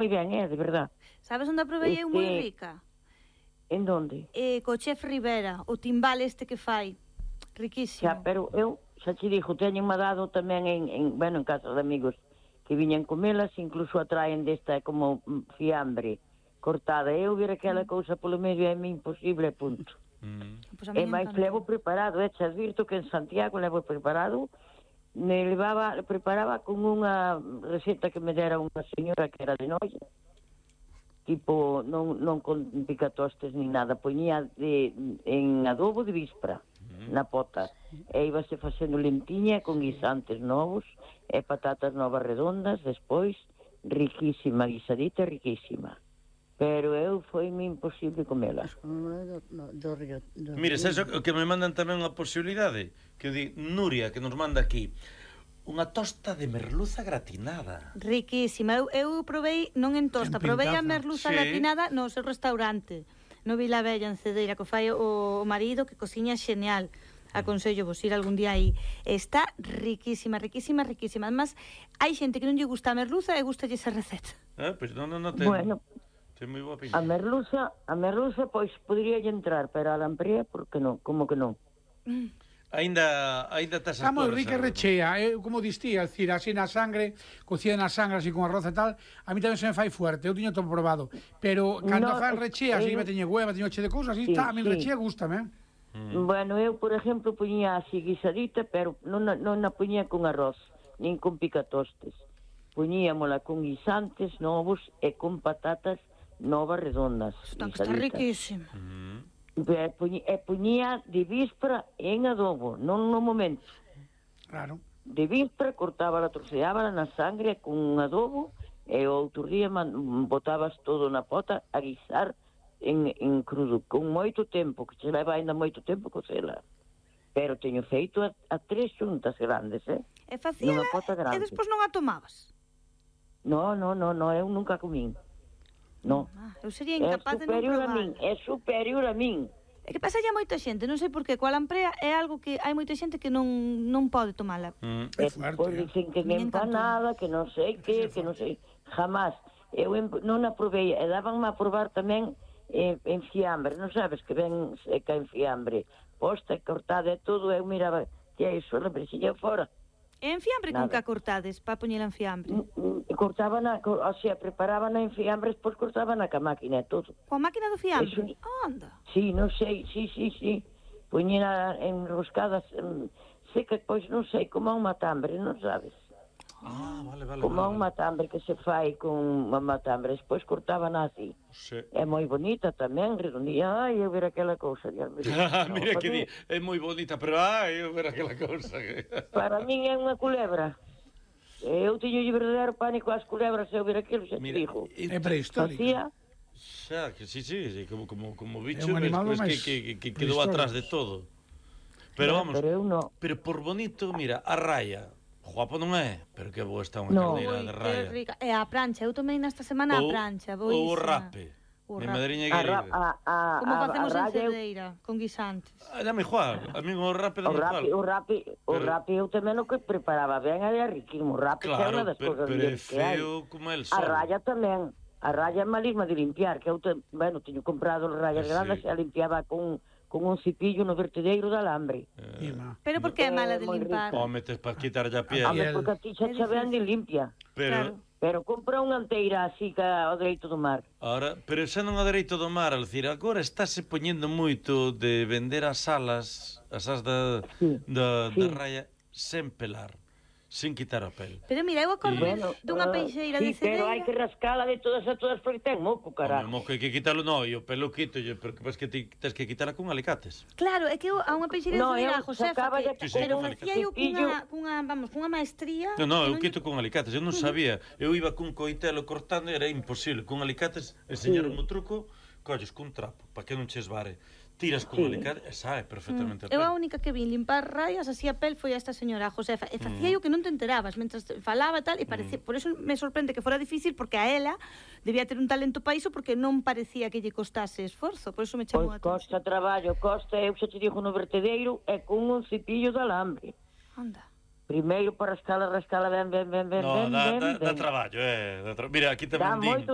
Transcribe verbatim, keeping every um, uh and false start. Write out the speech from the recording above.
moi ben, é, de verdad. Sabes onde aprovei eu moi Este- rica? En donde? Eh, co chef Rivera, o timbal este que fai. Riquísimo. Xa, pero eu, xa te digo, teñenme dado tamén en, en, bueno, en casa de amigos que viñan comelas, incluso atraen desta como mm, fiambre cortada. Eu vir aquela cousa polo medio é imposible, punto. Mm. Pois a mí E máis encantou. levo preparado, e xa advirto que en Santiago levo preparado, me levaba, preparaba con unha receta que me dera unha señora que era de noia, tipo, non, non con picatostes ni nada, poñía de, en adobo de víspera, na pota, e íbase facendo lentiña con guisantes novos, e patatas novas redondas, despois, riquísima, guisadita riquísima. Pero eu foi-me imposible comela. Do, do, do río, do Mire, río. sabes o que me mandan tamén unha posibilidade? Que di Nuria, que nos manda aquí unha tosta de merluza gratinada. Riquísima. Eu, eu provei, non en tosta, En provei a pintaza. merluza Sí. gratinada no seu restaurante, no Vila Bella, en Cedeira, que fai o, o marido, que cociña xeñal. Aconsello vos ir algún día aí. Está riquísima, riquísima, riquísima. Además, hai xente que non lle gusta a merluza e gustalle esa receta. Ah, pois non, non, non ten. Bueno, Ten moi boa a pinta. merluza, a merluza, pois, podría entrar, pero a lamprea, por que non? Como que non? Aínda aínda tes as Está moi cores, rica e Alberto. rechea, eh, como distí, é dicir, así na sangre, cocida na sangre, así con arroz e tal, a mí tamén se me fai fuerte, eu tiño todo probado, pero cando No, fan es- rechea, así, eu- me teñe hueva, teño che de cousas, así Sí, está, a mí sí. rechea, gústame, eh? Mm. Bueno, eu, por exemplo, poñía así guisadita, pero non, a- non a poñía con arroz, nin con picatostes. Poñíamola con guisantes novos e con patatas novas redondas. Está, que está guisaditas. riquísima. Mm. E poñía, e poñía de víspera en adobo, non no momento. Claro. De víspera cortábala, troceábala na sangre con un adobo e o outro día man, botabas todo na pota a guisar en, en crudo, con moito tempo, que se leva ainda moito tempo cocela. Pero teño feito a, a tres xuntas grandes, eh? E facíala Nunha pota e grande. despois non a tomabas. No, no, no, no, eu nunca comín. No. Ah, eu sería É incapaz de non superior a probar. min, é superior a min. É que pasa a moita xente, non sei por qué, coa lamprea é algo que hai moita xente que non non pode tomala. Mm. É E fuerte, pois eh. dicen que Me nem encantó. empanada, que non sei que, que non sei, jamás. Eu em, non a provei, e dabanme a probar tamén eh, en fiambre, non sabes que ven seca en fiambre, posta e cortada e todo, eu miraba, que é iso, la presilla fora. E en fiambre con Nada. que a cortades, para poñela en fiambre. Mm, mm, Cortaban, a, co- o sea, preparaban en fiambre, despois cortaban a ca máquina e todo. Coa máquina do fiambre? Eso- Anda. Sí, non sei, sí, sí, sí. Poñina enroscadas, mm, seca, pois non sei, como a un matambre, non sabes? Ah, vale, vale. Como a vale, un matambre que se fai con unha matambre, despois cortaban así. Sí. É moi bonita tamén, redondía. Ai, eu ver aquela cousa. Dios mío. Mira No, que para di, min- é moi bonita, pero ai, eu ver aquela cousa que... Para min é unha culebra. Eu teño verdadeiro pánico ás culebras, eu ver aquilo, xa te Mira, digo. É prehistórica. Facía, xa, que sí, sí, sí, como, como, como bicho, un animal ves, ves máis que, que, que quedou prehistórico. atrás de todo. Pero vamos, pero eu non. pero por bonito, mira, a raya, guapo non é, pero que boa está unha No. carneira Ui, de que raya. rica. E a prancha, eu tomei nesta semana a Ou- prancha, Ou o boísima. rape. O Mi rape. madriña A, ra- querida. a, a, Como a, facemos a en raya, eu- Cedeira, con guisantes. Ah, dame igual, a mí o rape O dame rapi, igual. o rapi, o Pero- rapi eu tamén o que preparaba ben era riquísimo. O rapi que é unha Claro, das pero, cousas pero é mellores que hai. feo como el A sol. raya tamén. A raya é malísima de limpiar, que eu, te, bueno, teño comprado rayas Sí. grandes e a limpiaba con, con un cipillo no vertedeiro de alambre. E, má. Pero por que é mala de É moi limpar? O metes para quitar ya A piel. ver, Piel. porque a ti xa É xa ven de limpia. Pero, Claro. Pero compra unha anteira así que ao dereito do mar. ahora, pero xa non a dereito do mar, al decir, agora estáse poñendo moito de vender as alas, as as da, Sí, da, sí. da raya, sen pelar, sen quitar a pel. Pero mira, eu acordo Bueno, dunha ah, peixeira sí, de Cedeira. pero hai que rascala de todas a todas porque ten moco, Home, caralho. mo que hai que quitalo, no, e o pelo quito, pero que ves que ti tens que quitala con alicates. Claro, é que eu a unha peixeira de No, Cedeira, eu Josefa, sacaba que, de- Sí, sí, pero con facía eu cepillo. cunha, cunha, vamos, cunha maestría. No, no, que eu non- quito con alicates, eu non sabía. Eu iba cun coitelo cortando e era imposible. Con alicates, enseñaron o truco, colles cun trapo, para que non che esvare. Tiras con Sí. alicate e sae perfectamente a Eu a pel. única que vin limpar raias así a pel foi a esta señora a Josefa. E facía eu que non te enterabas mentras falaba e tal, e parecía, por eso me sorprende que fora difícil, porque a ela debía ter un talento para iso, porque non parecía que lle costase esforzo, por eso me chamou a Pois atención. costa traballo, costa, eu xa te digo no vertedeiro, é con un cepillo de alambre. Anda. Primeiro para rascala, rascala ben, ben, ben, ben, No, ben, dá, ben, dá, dá ben. traballo, eh. Dá tra... Mira, aquí Dá tamén din... moito